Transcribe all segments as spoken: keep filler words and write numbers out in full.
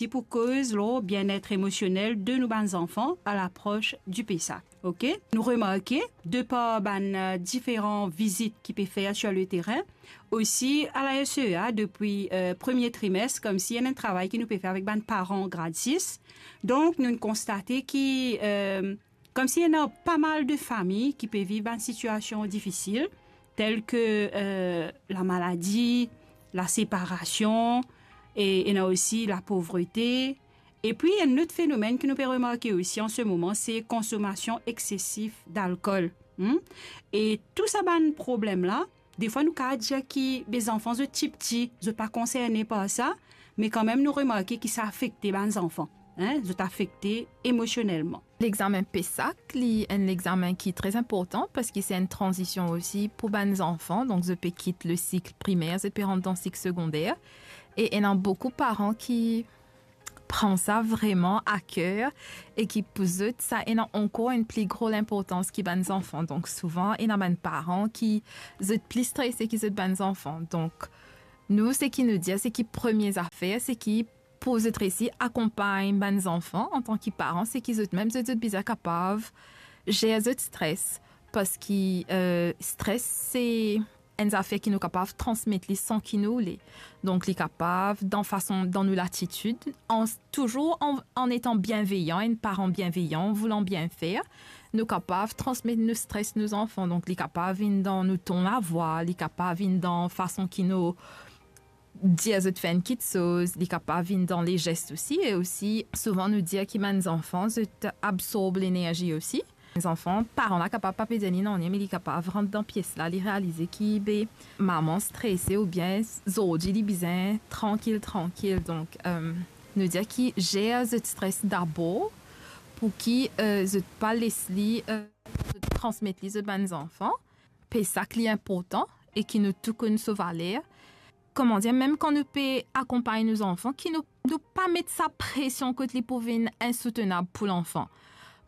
Ti pou koz lor bienet emosionel de nou bann zanfan a lapros di Pessak, ok? Nou remarke, de par bann, eh, diferan vizit ki pe fer sur le terrain, osi a la S E A depi, eh, premie trimes, koumsi ena enn travay ki nou pe fer avek bann paran grad sis. Donk, nou konstate ki, eh, koumsi ena pa mal de fami ki pe viv bann sitiasion difisil, tel ke, eh, lamaladi, laseparasion, e ena osi lapovrete. Epi, enn lot fenomenn ki nou pe remarke osi an se moman, se konsomasion eksesif dalkol. Hmm? E tou sa bann problem la, defwa nou kav dir ki be zanfan zot ti piti, zot pa konserne par sa, me kanmem nou remarke ki sa afekte bann zanfan, hein, zot afekte emosionelman. Lexamen Pessak, li enn lexamen ki tre inportan parski se enn tranzision osi pou bann zanfan, donk zot pe kit le sik primer, zot pe rant dan sik segonder, e ena boukou paran ki pran sa vreman a ker e ki pou zot, sa ena ankor enn pli gro linportans ki bann zanfan. Donk souvan, ena bann paran ki zot pli strese ki zot bann zanfan. Donk nou, seki nou dir, seki premie zafer, seki pou zot resi akonpagn bann zanfan antan ki paran, seki zot mem zot, zot bizin kapav zer zot stres, parski, eh, stres se enn zafer ki nou kapav transmet li san ki nou le. Donk, li kapav dan fason, dan nou latitid, an, touzour an, an etan bienveyan, enn paran bienveyan, voulan bien fer, nou kapav transmet nou stres nou zanfan. Donk, li kapav vinn dan nou ton lavwa, li kapav vinn dan fason ki nou dir zot fer enn kitsoz, li kapav vinn dan lezes osi, e osi, souvan nou dir ki bann zanfan, zot absorb lenerzi osi. Zanfan, paran la kapav pa pe dir li nanye, me li kapav rant dan pies la, li realize ki be mama strese oubien zordi li bizin trankil, trankil. Donk, eh, nou dir ki zer zot stres dabor, pou ki, eh, zot pa les li, eh, zot transmet li zot bann zanfan. Pe sa ki li inportan e ki nou tou konn so valer. Koman dir, mem kan nou pe akonpagn nou zanfan, ki nou, nou pa met sa presion kot li pou vinn insoutenab pou lanfan.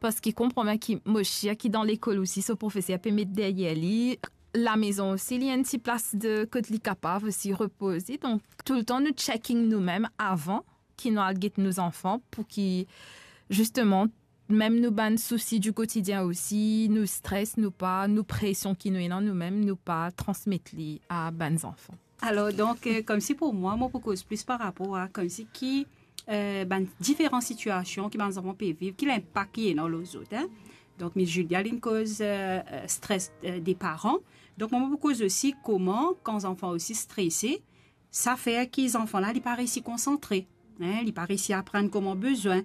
Parski konpran bien ki mo sir ki dan lekol osi, so profeser pe met deryer li, lamezon osi, li enn ti plas de kot li kapav osi repoze. Donk, toultan nou checking nou mem avan ki nou al get nou zanfan, pou ki, zisteman, mem nou bann sousi di kotidien osi, nou stres, nou pa, nou presion ki nou ena nou mem, nou pa transmet li a bann zanfan. Alor, donk, eh, koumsi pou mwa, mo pou koz plis par rapor a koumsi ki, eh, bann diferan sitiasion ki bann zanfan pe viv, ki linpak ki ena lor zot, hein. Donk, Miss Julia, linn koz, eh, eh, stres, eh, de paran. Donk, mwa, mo pou koz osi kouma, kan zanfan osi strese, sa fer ki zanfan la, li pa resi konsantre, hein, li pa resi aprann kouma bizin.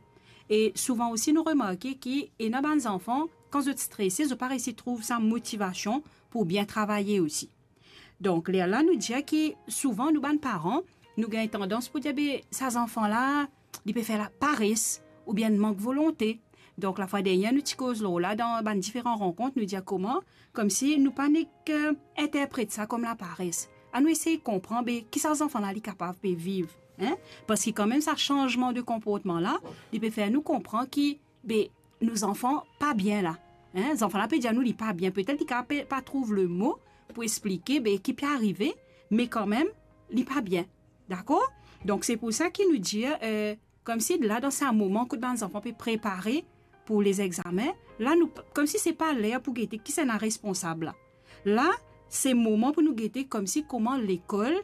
E souvan osi, nou remarke ki ena bann zanfan, kan zot strese, zot pa resi trouv sa motivasion pou bien travaye osi. Donk, lerla nou dir ki souvan nou bann paran, nou gagn tandans pou dir, be, sa zanfan la, li pe fer lapares, oubien mank volonte. Donk, lafwa dernie, nou ti koz lor la dan bann diferan rankont, nou dir kouma, koumsi nou pa nek, eh, interpret sa kom lapares. Anou esey konpran, be, ki sa zanfan la li kapav pe viv, hein? Parski kanmem sa sanzman de konportman la, li pe fer nou konpran ki, be, nou zanfan pa bien la, hein? Zanfan la pe dir nou li pa bien, petet li kapav pe, pa trouv lemo pou explike, be, ki pe arive, me kanmem, li pa bien. Dakor? Donk, se pou sa ki nou dir, eh, koumsi la, dan sa moman kot bann zanfan pe prepare pou lezegzamen, la nou, koumsi se pa ler pou gete kisannla responsab la. La, se moman pou nou gete koumsi kouma lekol,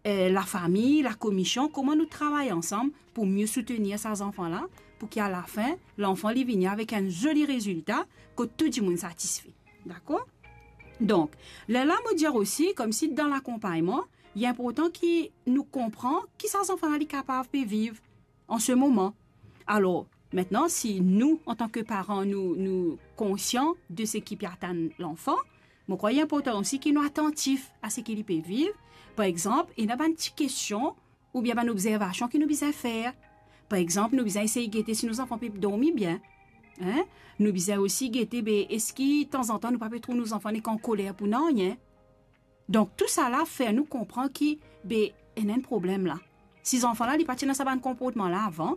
eh, lafami, lakomision, kouma nou travay ansam pou mie soutenir sa zanfan la, pou ki alafin, lanfan li vini avek enn zoli rezilta kot tou dimoun satisfe. Dakor? Donk, lerla mo dir osi, koumsi dan lakonpagnman, li inportan ki nou konpran ki sa zanfan la li kapav pe viv an se moman. Alor, mintnan, si nou, antan ke paran, nou, nou konsian de seki pe atann lanfan, mo krwar li inportan osi ki nou atantif a seki li pe viv. Par exanp, ena bann ti kestion oubien bann obzervasion ki nou bizin fer. Par exanp, nou bizin esey gete si nou zanfan pe dormi bien. Hein? Nou bizin osi gete, be, eski tanzantan nou pa pe trouv nou zanfan nek ankoler pou nanye? Donk, tou sa la fer nou konpran ki, be, ena enn problem la. Si zanfan la, li pa ti ena sa bann konportman la avan,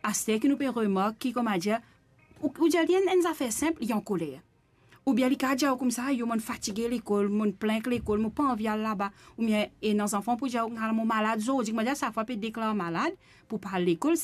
aster ki nou pe remark ki, kouma dir, ou, ou dir li enn, enn zafer sinp, li ankoler. Oubien li kav dir ou koumsa, yo, mo'nn fatige lekol, mo'nn plin lekol, mo pa anvi al laba. Oubien, ena zanfan pou dir ou, mo malad zordi, kouma dir, sa fwa pe deklar malad pou pa al lekol,